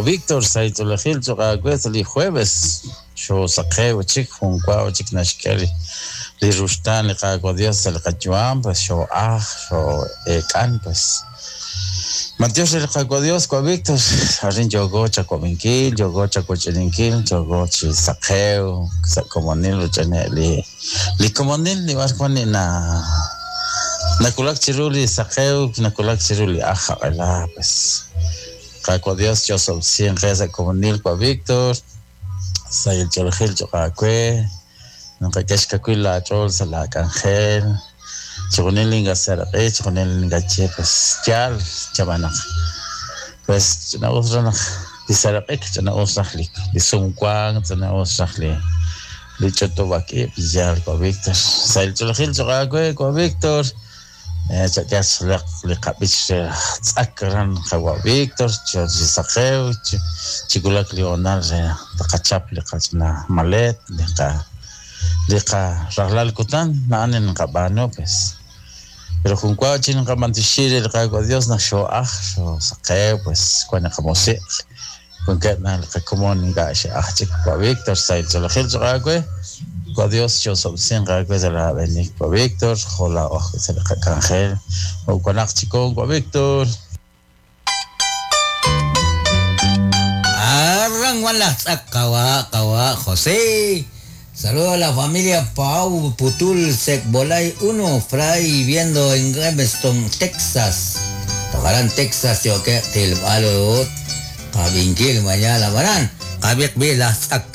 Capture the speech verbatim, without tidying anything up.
Víctor sahil ch'oolejil cho'q aawe sa' li jueves xoosaqew chik jun wa chik naxk'e li li ruxtaan li Qaawa' Dios sa' li qayu'am pues xoo'aj xoo'eek'an pues matiox re li Qaawa' Dios wa Víctor arin yooko chako'minkil yooko chakoch'ininkil yooko chi saqew sa' komonil ruch'ane' li li komonil li b'ar wan li na nakulak chiru li saqew nakulak chiru li aj jaq'ela pues Qaawa' Dios chosob'sin qe sa' komonil wa Víctor sahil ch'oolejil cho'q aawe naqak'e xkawil laach'ool sa' laak'anjel chixjunil inkaseraq'i chixjunil inkaye pues yaal chab'anaq pues ch'ina'us raj naq li seraq'ik ch'ina'us raj li li sumwank ch'ina'us raj li li ch'utub'ak ib' yaal wa Víctor sahil ch'oolejil cho'q aawe wa Víctor chak'e li qab'ich re tz'ak ran qawa Víctor chi saqew chikulak li hoonal re taqachap li qach'ina malet li qa li qa rajlal kutan na'an nqab'aanu pues pero jun wa chi nqab'antixi re li Qaawa' Dios naq xoo'aj xoosaqew pues wan li qamusiq wankeb' na li qakomon ink'a' xe'aj chik wa Víctor sahil ch'oolejil cho'q aawe wa Dios chosob'sin aawe sa' laab'enik wa Víctor jo' laa'oj sa' li qak'anjel jo'wanaq chikon wa Víctor. Arran wan laj tz'ak qawa qawa José. Saludo a la familia Pau Putul Secbolay uno Fray viendo en Galveston, Texas. Tocarán Texas yo que tilbalut. Kabinkil mañana baran. Kabik bilas tz'ak.